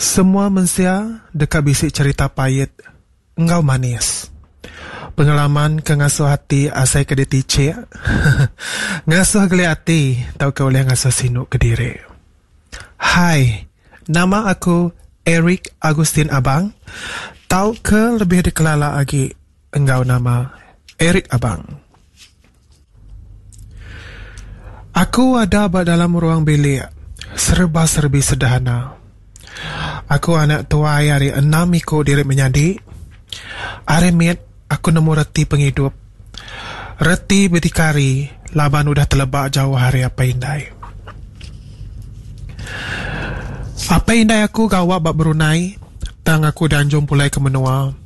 Semua mensia deka bisi cherita pait enggau manis. Pengalaman ke ngasuh ati asai ke ditichik, ngasuh geli ati tauka ulih ngasuh sinu kediri. Hai, nama aku Eric Agustin Abang tauka lebih dikelala agi enggau nama Eric Abang. Aku ada ba dalam ruang bilik sereba serbi sederhana. Aku anak tuai ari enam iku diri menyadi. Ari mit aku nemu reti pengidup. Reti bedikari laban udah teleba jauh ari apai indai. Apai indai aku gawa ba Brunei tang aku dianjung pulai ke menua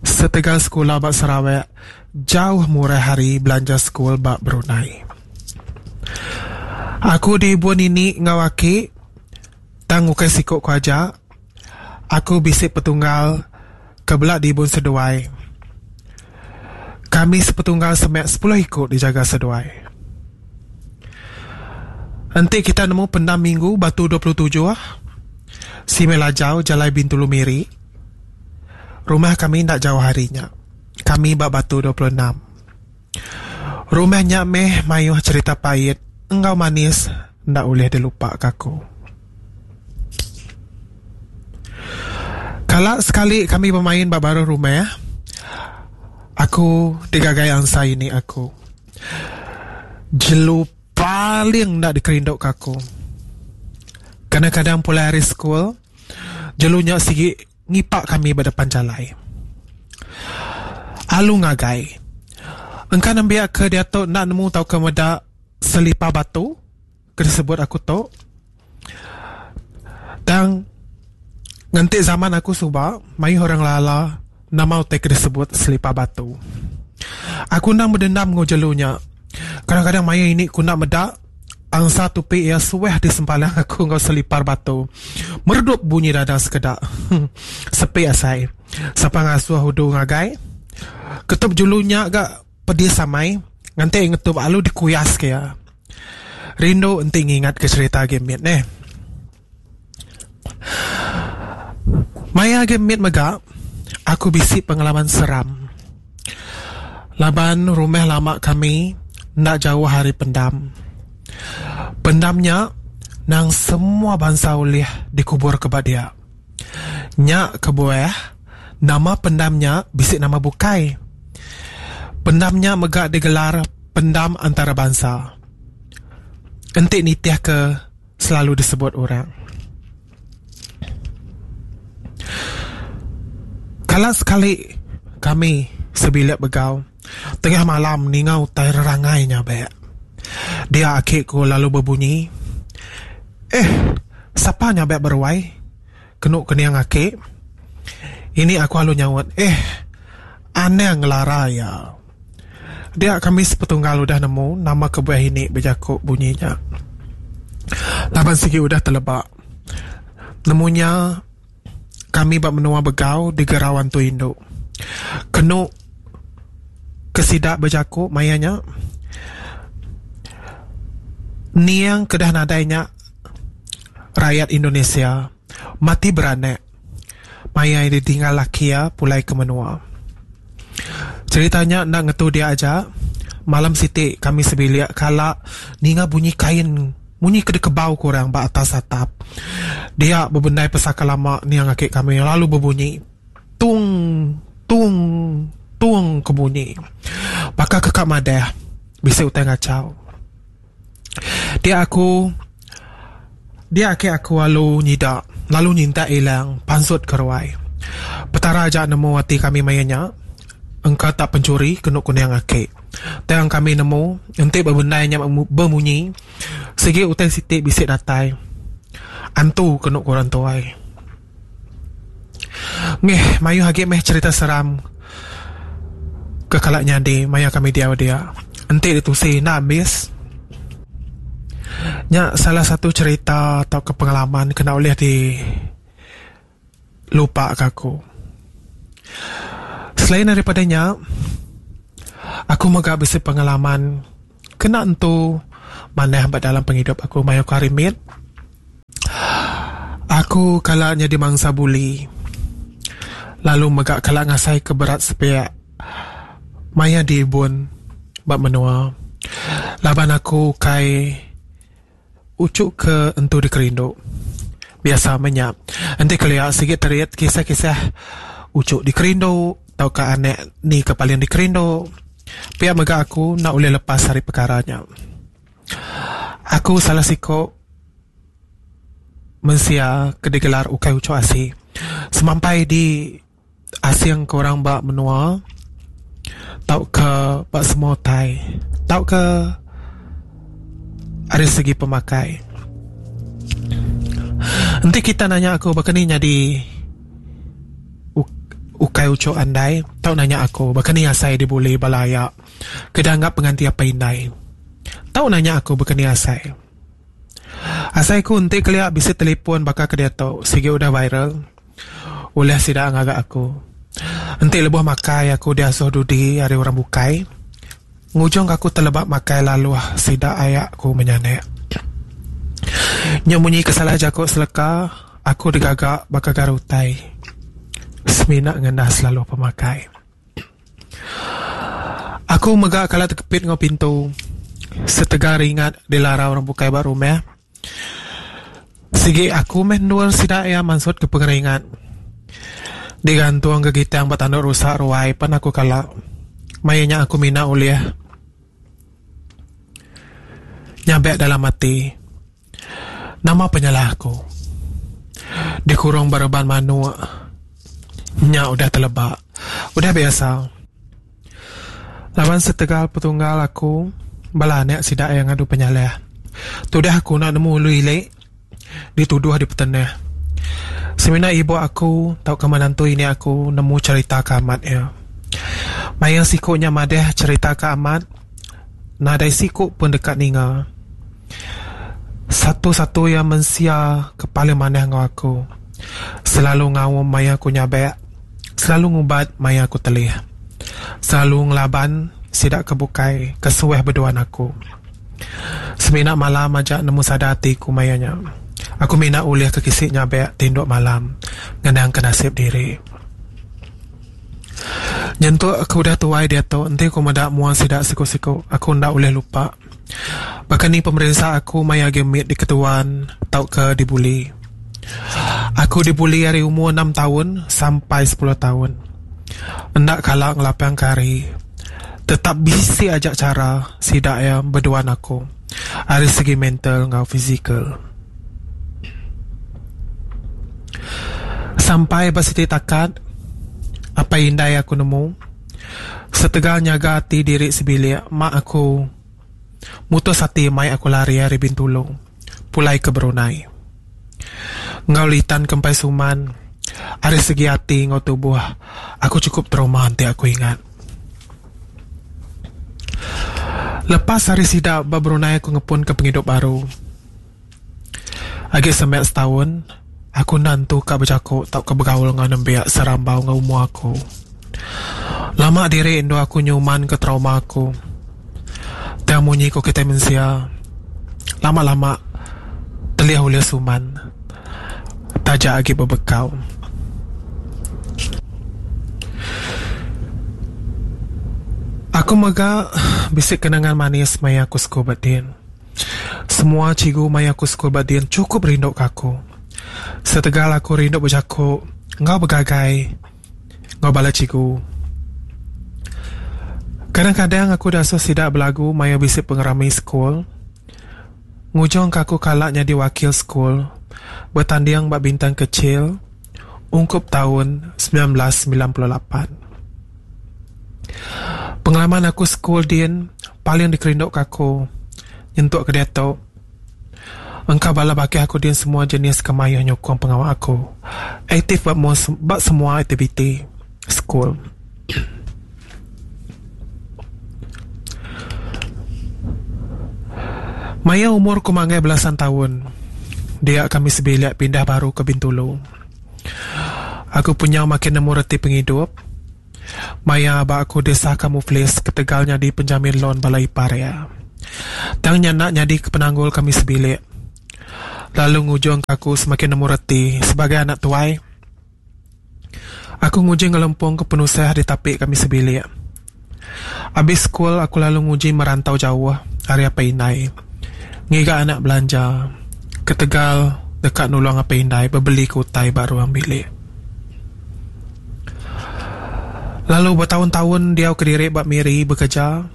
setegal sekula ba Sarawak Jauh murah ari belanja sekul ba Brunei. Aku diibun ini enggau aki tang ukai siku ku aja. Aku bisi petunggal ke bela diibun seduai. Kami sepetunggal semak sepuluh iku dijaga seduai. Enti kita nemu pendam minggu Batu 27, Simei Lajau, Jalai Bintulu Miri, rumah kami enda jauh ari nya. Kami ba Batu 26. Rumah nya meh mayuh cherita pait enggau manis enda ulih dilupaka aku. Kala sekali kami bemain ba baruh rumah, aku digagai ansa ini aku. Jelu paling enda dikerinduka aku. Kadang-kadang pulai ari sekul, jelu nya sigi Ngipa kami ba depan jalai. Alu ngagai. Engka nembiak ke diatu enda nemu tauka meda selipar batu ke disebut aku tu. Tang ngenti zaman aku suba mayuh orang ngelala nama utai ke disebut selipar batu. Aku endang bedendam enggau jelu nya. Kadang-kadang maya ini ku enda meda angsa tupi iya suah disempalang aku enggau selipar batu. Meredup bunyi dada sekeda. Sepi asai. Sapa ngasuh udu ngagai. Ketup julu nya ga pedis amai nganti ngetup alu dikuyas ke iya. Rindu enti ngingat ke cherita agi mit neh. Maya agi mit mega aku bisi pengalaman seram. Laban rumah lama kami enda jauh ari pendam. Pendam nya nang semua bansa ulih dikuburka ba dia. Nya kebuah nama pendam nya bisi nama bukai. Pendam nya mega digelar pendam antarabansa. Enti nitihka selalu disebut orang. Kala sekali kami sebilik begau tengah malam ninga utai rerangai nya bek. Dia aki ku lalu bebunyi, Eh, sapa nya bek beruai? Kenu kening aki. Ini aku alu nyaut, Eh, anang ngelara iya. Dia kami sepetunggal udah nemu nama kebuah ini bejaku bunyi nya. Laban sigi udah teleba. Nemu nya kami ba menua Begau digerau antu indu. Kenu ke sida bejaku maya nya niang ke dah nadai nya rayat Indonesia mati beranak. Maya iya ditinggal laki iya pulai ke menua. Cherita nya enda ngetu dia aja. Malam siti kami sebilik kala ninga bunyi kain munyi ke dikebau ke orang ba atas atap. Dia bebendai pesaka lama niang aki kami lalu bebunyi tung tung tung ke bunyi. Baka ke ka madah bisi utai ngachau. Dia aku dia ake aku alu nyida lalu nyintak ilang pansut ke ruai. Petara aja nemu ati kami maya nya engka tak penchuri kenu kuning ake. Tang kami nemu enti bebendai nya bemunyi sigi utai siti bisi datai antu kenu ku orang tuai. Ngeh mayuh agi meh cherita seram ke kala nyadi maya kami diau dia. Enti ditusi enda ambis. Nya salah satu cherita tauka pengalaman ke enda ulih di lupa ka aku. Selain daripada nya aku mega bisi pengalaman kena entu manah ba dalam pengidup aku maya ku hari mit. Aku kala nyadi mangsa buli lalu mega kala ngasaika berat sepiak maya diibun ba menua laban aku ukai uchu ke entu dikerindu. Biasa meh nya enti kelia sigi terit kisah-kisah uchu dikerindu tauka anak ni ke paling dikerindu. Pia mega aku enda ulih lepas ari pekara nya. Aku salah siko mensia ke digelar ukai uchu asi. Semampai di asing ke orang ba menua tauka ba semua utai tauka ari segi pemakai. Enti kita nanya aku baka ni nyadi ukai uchu andai tau nanya aku baka ni asai dibuli bala aya ke dianggap penganti apai indai. Tau nanya aku baka ni asai. Asai ku enti kelia bisi telefon baka ke diatu sigi udah viral ulih sida ngaga aku. Enti lebuh makai aku diasuh dudi ari orang bukai ngujung ka aku teleba makai laluh sida aya ku menyanak. Nya munyi ke salah jaku seleka aku digaga baka garu utai semina ngendas laluh pemakai. Aku mega kala tekepit enggau pintu setegal ringat dilara orang bukai ba rumah. Sigi aku meh endur sida iya mansutka pengeringat. Digantung gegitang ba tandu rusa ruai pan aku kala. Maya nya aku mina ulih nyabek dalam ati. Nama penyalah aku? Dikurung ba reban manuk nya udah teleba, udah biasa. Laban setegal petunggal aku, bala anak sida iya ngadu penyalah. Tudah aku enda nemu ulu ili dituduh dipetenah. Semina ibu aku tauka menantu ini aku nemu cherita ke amat iya. Maya siku nya madah cherita ke amat, nadai siku pun deka ninga. Satu-satu iya mensia ke paling manah enggau aku. Selalu ngaum maya aku nyabak, selalu ngubat maya aku telih. Selalu ngelaban sida ke bukai ke suah beduan aku. Semina malam aja nemu sada ati ku maya nya. Aku mina ulih ke kisi nyabak tinduk malam ngenang ke nasib diri. Nyentuk ke udah tuai diatu enti ku meda mua sida siku-siku aku enda ulih lupa. Baka ni pemerinsa aku maya agi mit diketuan tauka dibuli. Aku dibuli ari umur enam taun sampai sepuluh taun. Enda kala ngelapangka hari. Tetap bisi aja chara sida iya beduan aku ari segi mental enggau fizikal. Sampai ba siti takat, apai indai aku nemu. Setegal nyaga ati diri sebilik, mak aku mutus ati mai aku lari ari Bintulu pulai ke Brunei. Enggau litan ke empai suman, ari segi ati enggau tubuh aku chukup trauma enti aku ingat. Lepas ari sida ba Brunei aku ngepunka pengidup baru. Agi semak setaun, aku enda entu ka bejaku tauka begaul enggau nembiak serambau enggau umur aku. Lama diri endur aku nyumanka trauma aku. Tang munyi ku kitai mensia, lama-lama telih ulih suman taja agi bebekau. Aku mega bisi kenangan manis maya aku sekul ba din. Semua cikgu maya aku sekul ba din chukup rindu ka aku. Setegal aku rindu bejaku enggau begagai enggau bala cikgu. Kadang-kadang aku diasuh sida belagu maya bisi pengerami sekul. Ngujungka aku kala nyadi wakil sekul betanding ba Bintang Kecil ungkup taun 1998. Pengalaman aku sekul din paling dikerinduka aku nyentuk ke diatu. Engka bala bakih aku din semua jenis ke mayuh nyukung pengawa aku aktif ba ba semua aktiviti sekul. Maya umur ku manggai belasan taun, dia kami sebilik pindah baru ke Bintulu. Aku punyau makin nemu reti pengidup. Maya aba aku disahka muflis ketegal nyadi penjamin loan bala ipar iya. Tang nya enda nyadika penanggul kami sebilik. Lalu ngujungka aku semakin nemu reti sebagai anak tuai. Aku nguji ngelempungka penusah ditapi kami sebilik. Abis sekul aku lalu nguji merantau jauh ari apai indai ngiga anak belanja ketegal deka nulung apai indai bebelika utai ba ruang bilik. Lalu betaun-taun diau kediri ba Miri bekereja,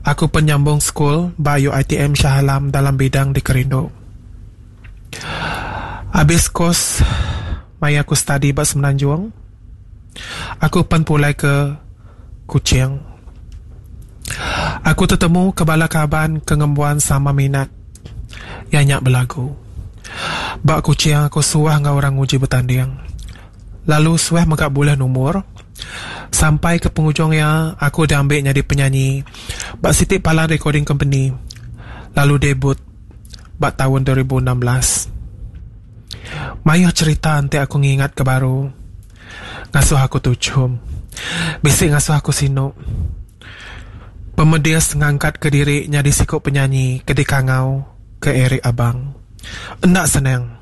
aku pen nyambung sekul ba UiTM Shah Alam dalam bidang dikerindu. Abis kos maya aku study ba Semenanjung, aku pen pulai ke Kuching. Aku tetemu ke bala kaban ke ngembuan sama minat iya nya belagu. Ba Kuching aku suah enggau orang nguji betanding lalu suah mega bulih numur sampai ke pengujung iya aku diambi nyadi penyanyi ba siti palan recording company lalu debut ba taun 2016. Mayuh cherita enti aku ngingatka baru ngasuh aku tuchum. Bisi ngasuh aku sinu. Pemedis ngangkatka diri nyadi siku penyanyi ke dikangau ke Eric Abang. Enda senang.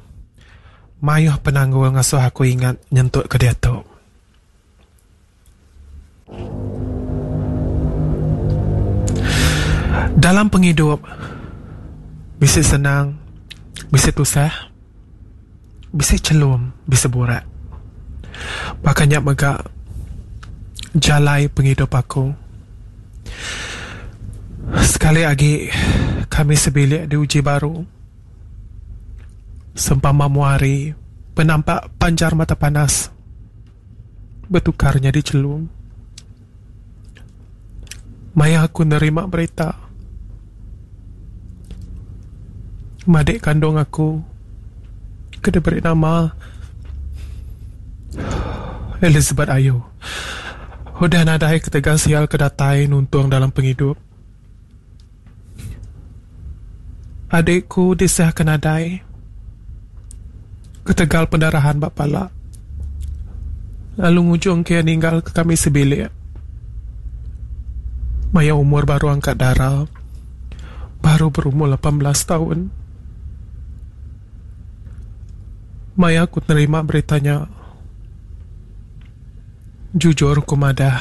Mayuh penanggul ngasuh aku ingat nyentuk ke diatu. Dalam pengidup, bisi senang, bisi tusah, bisi chelum, bisi burak. Baka nya mega jalai pengidup aku. Sekali agi kami sebilik diuji baru. Sempama mua hari penampak panjar mata panas. Betukar nyadi chelum. Maya aku nerima berita madik kandung aku ke diberi nama Elizabeth Ayu udah nadai ketegal sial ke datai nuntung dalam pengidup. Adik ku disahka nadai ketegal pendarahan ba pala lalu ngujungka iya ninggalka kami sebilik maya umur baru angkat dara baru berumur 18 taun. Maya ku nerima berita nya jujur ku madah.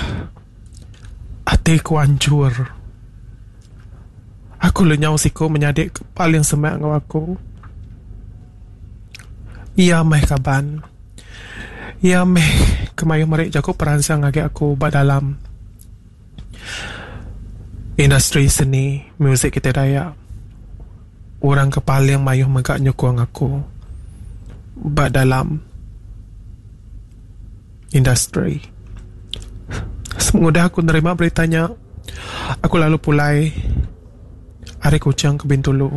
Ati ku anchur. Aku lenyau siku menyadi ke paling semak enggau aku. Iya meh kaban. Iya meh ke mayuh meri jaku peransang ngagai aku ba dalam industri seni muzik kitai Dayak. Orang ke paling mayuh mega nyukung aku ba dalam. Industri. Sepengudah aku nerima berita nya, aku lalu pulai ari Kuching ke Bintulu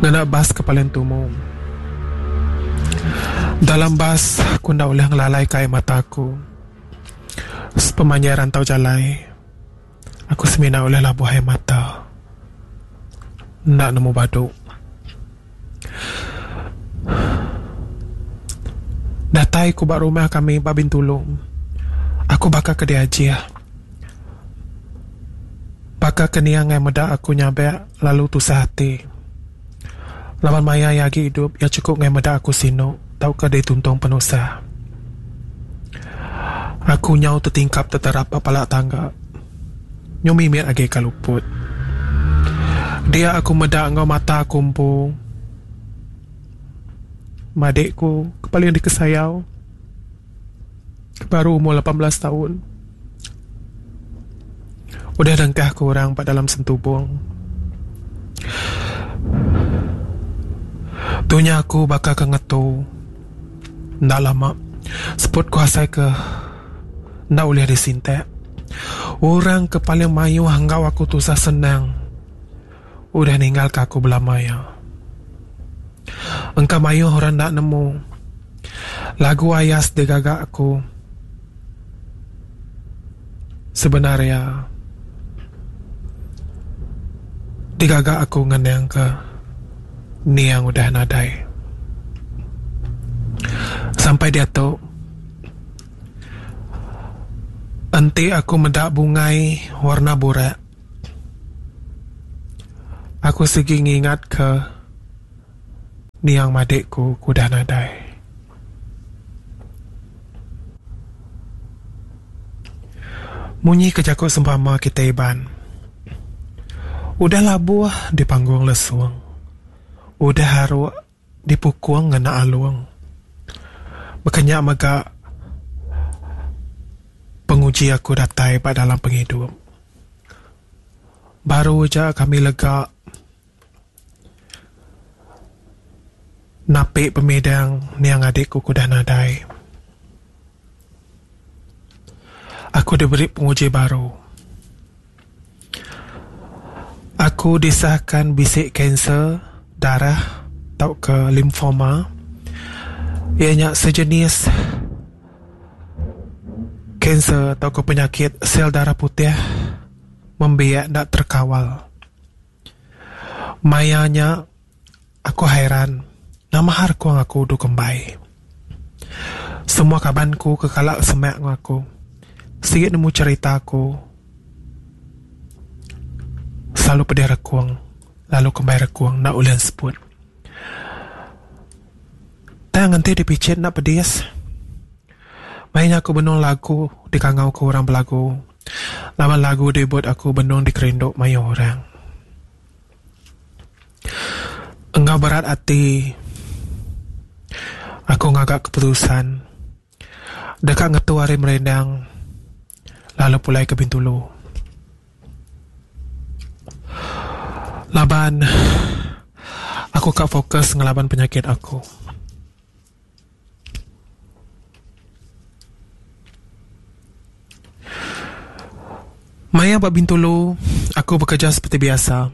ngena bas ke paling tumu. Dalam bas, aku enda ulih ngelalaika ai mata aku. Sepemanjai rantau jalai, aku semina ulih labuh ai mata. Enda nemu badu. Datai ku ba rumah kami ba Bintulu. Aku baka ke diajih. Baka ke niang ngai meda aku nyabak lalu tusah ati. Laban maya iya agi idup iya chukup ngai meda aku sinu tauka dituntung penusah. Aku nyau tetingkap teterap ba pala tangga. Nyu mimit agi ka luput. Dia aku meda enggau mata aku empu. Madik ku ke paling dikesayau ke baru umur 18 taun. Udah dengkah ke orang ba dalam sentubung. Tunya aku baka ke ngetu. Enda lama seput ku asai ke enda ulih disintak. Orang ke paling mayuh enggau aku tusah senang udah ninggalka aku belama iya. Engka mayuh orang enda nemu lagu Ayas digaga aku sebenar iya digaga aku ngenangka niang udah nadai. Sampai diatu. Enti aku meda bungai warna burak, aku sigi ngingatka. Niang madik ku ke udah nadai. Munyi ke jaku sempama kitai Iban, udah labuh dipanggung lesung, udah aruk dipukung ngena alung. Baka nya mega penguji aku datai ba dalam pengidup. Baru aja kami lega. Napi pemidang niang adik ku ke udah nadai. Aku diberi penguji baru. Aku disahkan bisi kanser darah tauka limfoma iya nya sejenis kanser tauka penyakit sel darah putih membiak enda terkawal. Maya nya, aku hairan nama har ku aku udu kembai. Semua kaban ku ke kala semak enggau aku sigi nemu cherita aku selalu pedih rekung lalu kembai rekung enda ulih enseput. Tang enti dipichit enda pedis. Maya nya aku benung lagu dikangau ke orang belagu laban lagu debut aku benung dikerindu mayuh orang. Enggau berat ati aku ngaga keputusan deka ngetu ari merindang lalu pulai ke Bintulu. Laban aku ka fokus ngelaban penyakit aku. Maya ba Bintulu, aku bekerja seperti biasa.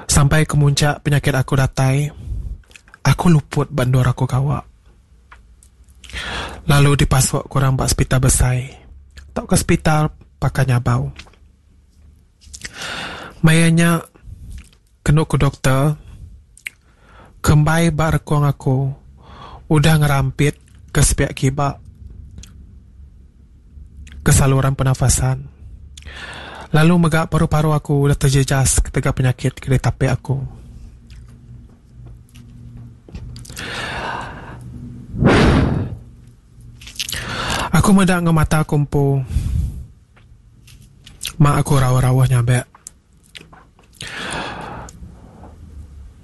Sampai ke muncak penyakit aku datai, aku luput ba endur aku gawa. Lalu dipasuk ke orang ba sepital besai tauka sepital Pakan Nyabau. Maya nya, Kenu ku doktor, kembai ba rekung aku udah ngerampit ke sepiak kiba ke saluran pernafasan. Lalu mega paru-paru aku udah terjejas ketegal penyakit ke ditapi aku. Aku meda enggau mata aku empu mak aku rauh-rauh nyabek.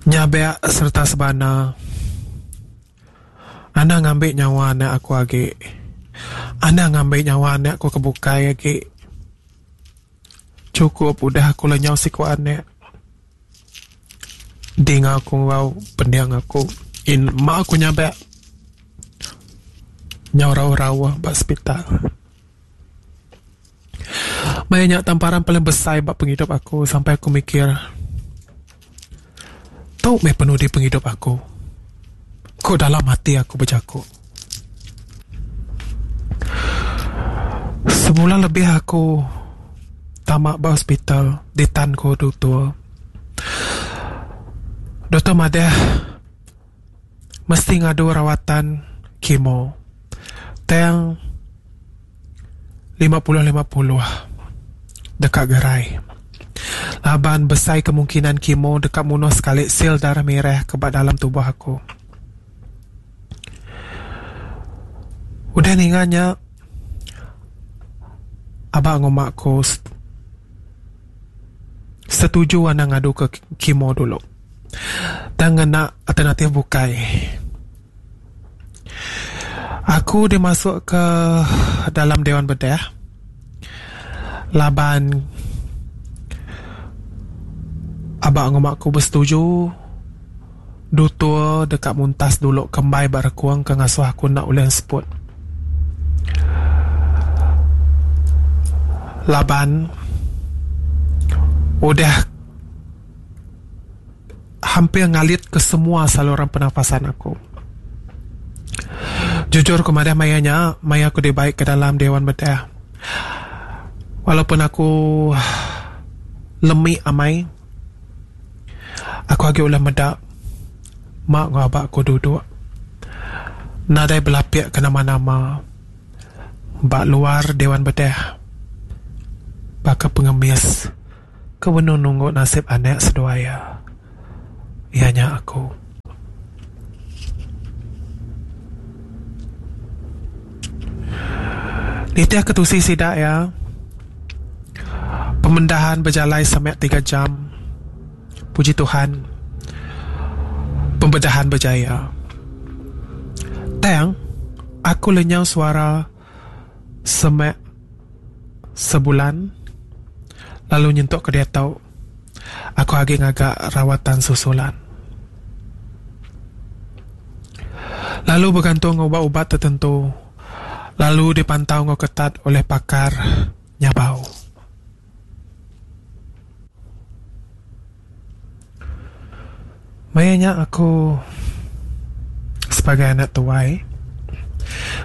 Nyabak sereta sebana. Anang ngambi nyawa anak aku agi. Anang ngambi nyawa anak aku ke bukai agi. Chukup udah aku lenyau siku anak. Dinga aku enggau pending aku in ma aku nyabak nyau rauh-rauh ba sepital. Maya nya tamparan paling besai ba pengidup aku sampai aku mikir tu meh penudi pengidup aku. Ku dalam ati aku bejaku. Sebulan lebih aku tama ba hospital ditan ku doktor. Doktor madah mesti ngadu rawatan kemo. Tang 50-50 deka gerai. Laban besai kemungkinan kemo deka munuh sekali sel darah merah ke ba dalam tubuh aku. Udah ninga nya, aba enggau mak aku setuju anang ngadu ke kemo dulu. Tang ngena alternatif bukai. Aku dimasuk ke dalam Dewan Bedah laban aba enggau mak aku besetuju dutur deka muntas dulu kembai ba rekung ke ngasuh aku enda ulih enseput. Laban udah hampir ngalit ke semua saluran pernafasan aku. Jujur ku madah maya nya, maya aku dibai ke dalam Dewan Bedah. Walaupun aku lemi amai, aku agi ulih meda mak enggau aba aku duduk nadai belapik ke nama-nama ba luar Dewan Bedah baka pengemis. Ke benung nunggu nasib anak seduai iya. Iya nya aku. Nitih ke tusi sida iya, pemendahan bejalai semek tiga jam. Puji Tuhan, pembedahan berjaya. Tang, aku lenyau suara semek sebulan lalu nyentuk ke diatu aku agi ngaga rawatan susulan. Lalu begantung ubat-ubat tertentu lalu dipantau enggau ketat oleh pakar nyabau. Maya nya aku sebagai anak tuai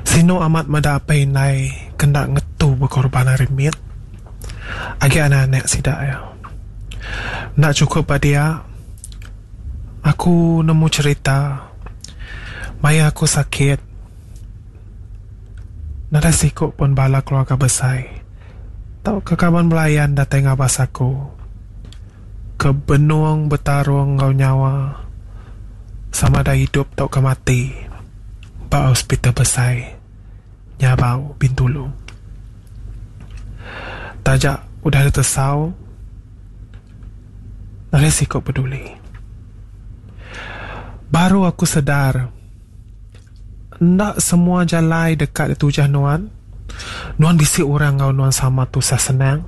sinu amat meda apai indai ke enda ngetu bekorban ari mit agi anak-anak sida iya. Enda chukup ba dia aku nemu cherita maya aku sakit nadai siku pun bala keluarga besai tauka kaban belayan datai ngabas aku ke benung betarung enggau nyawa sama ada idup tauka mati ba hospital besai Nyabau, Bintulu. Taja udah ditesau nadai siku peduli. Baru aku sedar enda semua jalai deka ditujah nuan. Nuan bisi orang enggau nuan sama tusah senang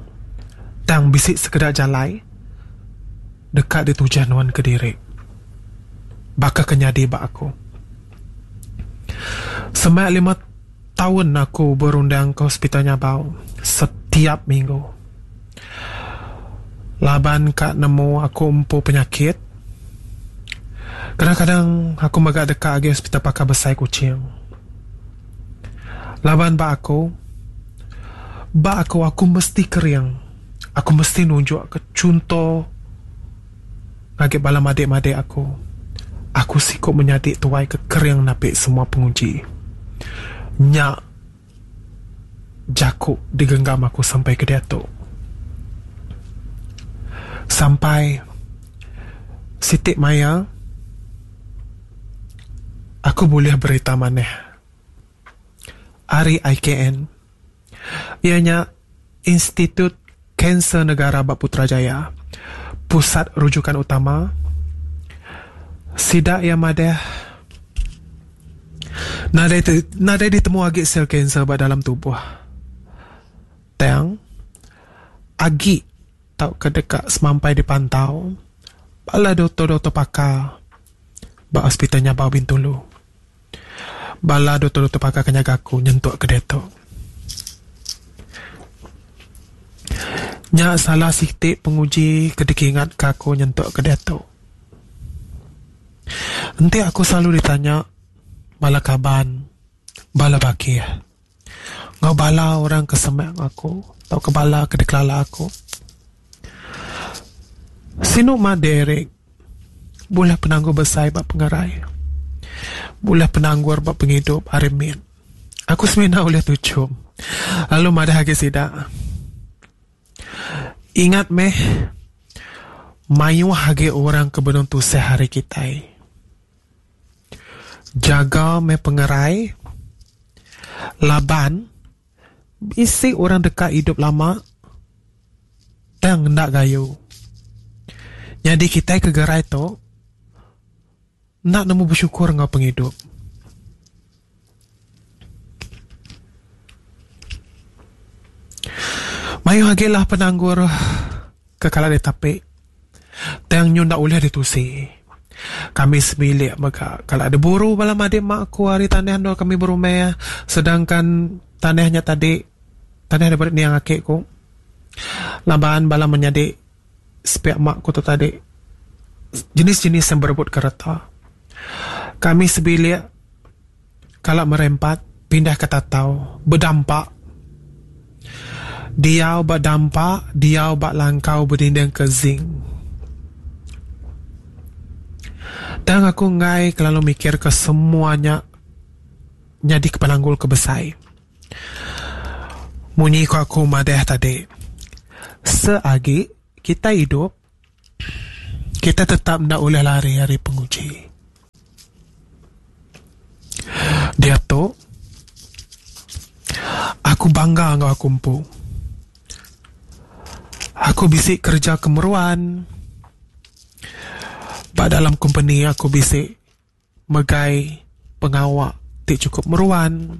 tang bisi sekeda jalai deka ditujah nuan kediri. Baka ke nyadi ba aku. Semak lima taun aku berundang ke hospital Nyabau setiap minggu. Laban ka nemu aku empu penyakit. Kadang-kadang aku mega deka agi hospital pakar besai Kuching. Laban ba aku, ba aku aku mesti kering. Aku mesti nunjukka chunto ngagai bala madik-madik aku. Aku siku menyadi tuai ke kering napi semua penguji. Nya jaku digenggam aku sampai ke diatu. Sampai siti maya aku bulih berita manah ari IKN iya nya Institut Kanser Negara ba Putrajaya, pusat rujukan utama sida iya madah nadai nadai ditemu agi sel kanser ba dalam tubuh tang agi tauka deka semampai dipantau bala doktor-doktor pakar ba Hospital Nyabau Bintulu. Bala doktor-doktor pakar ke nyaga aku nyentuk ke diatu. Nya salah siti penguji ke dikingatka aku nyentuk ke diatu. Enti aku selalu ditanya bala kaban, bala bakih enggau bala orang ke semak enggau aku tauka bala ke dikelala aku. Sinu mah Derek bulih penanggul besai ba pengerai. Bulih penanggur ba pengidup ari mit. Aku semina ulih tuchum lalu madah agi sida. Ingat meh mayuh agi orang ke benung tusah ari kitai. Jaga meh pengerai laban Bisi orang deka idup lama tang enda gayu. Nyadi kitai ke gerai tu enda nemu besyukur enggau pengidup. Mayuh agi lah penanggur ke kala ditapi tang nyu enda ulih ditusi. Kami sebilik mega kala diburu bala madik mak aku ari tanah endur kami berumah sedangkan tanah nya tadi tanah daripada niang aki ku laban bala menyadi sepiak mak ku tu tadi jenis-jenis yang berebut ke reta. Kami sebilik kala merempat pindah ke Tatau bedampa diau ba dampa diau ba langkau bedinding ke zinc. Tang aku enggai kelalu mikir ke semua nya nyadi ke penanggul ke besai. Munyi ku aku madah tadi seagi kitai idup kitai tetap enda ulih lari ari penguji. Diatu, Aku bangga enggau aku empu. Aku bisi kereja ke meruan. Ba dalam kompeni aku bisi megai pengawa ti chukup meruan.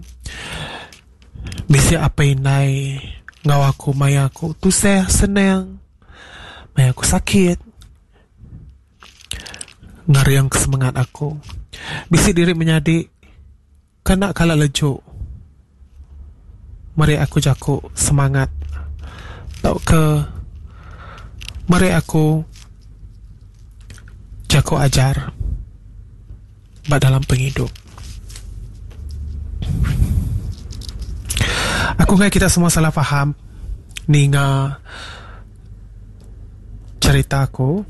Bisi apai indai enggau aku maya aku tusah senang, maya aku sakit. Ngering ke semengat aku. Bisi diri menyadi ke enda kala leju meri aku jaku semangat tauka meri aku jaku ajar ba dalam pengidup. Aku enggai kita semua salah faham ninga cherita aku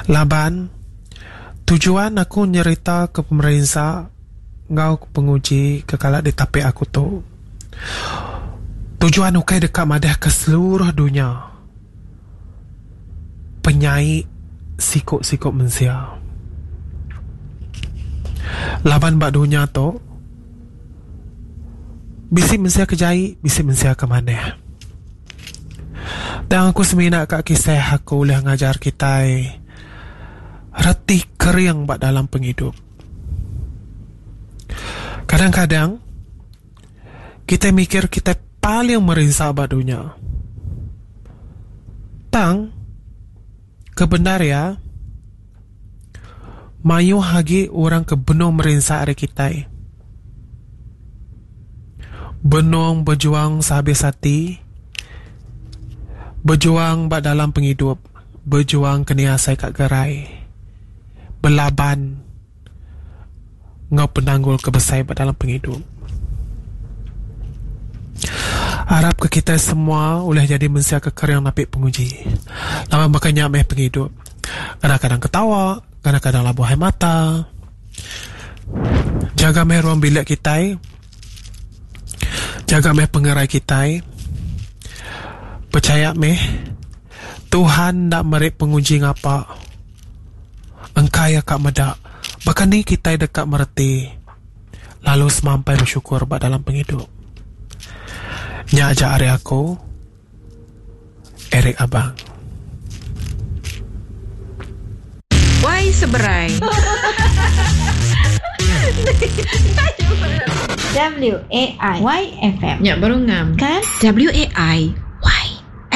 laban tujuan aku nyerita ke pemerinsa enggau penguji ke kala ditapi aku tu tujuan ukai deka madah ke seluruh dunya penyai siku-siku mensia. Laban ba dunya tu bisi mensia ke jai bisi mensia ke manah. Tang aku semina ka kisah aku ulih ngajar kitai reti kering ba dalam pengidup. Kadang-kadang kitai mikir kitai paling merinsa ba dunya. Tang ke bendar iya mayuh agi orang ke benung merinsa ari kitai. Benung bejuang sehabis ati, bejuang ba dalam pengidup, bejuang ke nia asai ka gerai, belaban enggau penanggul ke besai ba dalam pengidup. Arap ke kitai semua ulih nyadi mensia ke kering napi penguji. Laban baka nya meh pengidup. Kadang-kadang ketawa, kadang-kadang labuh ai mata. Jaga meh ruang bilik kitai. Jaga meh pengerai kitai. Pechaya meh Tuhan enda meri penguji ngapa. Engka iya ka meda baka ni kitai deka mereti lalu semampai besyukur ba dalam pengidup. Nya aja ari aku. Eric Abang. Wai seberai. W A I Y F M. Nya baru ngam. Kan? W A I.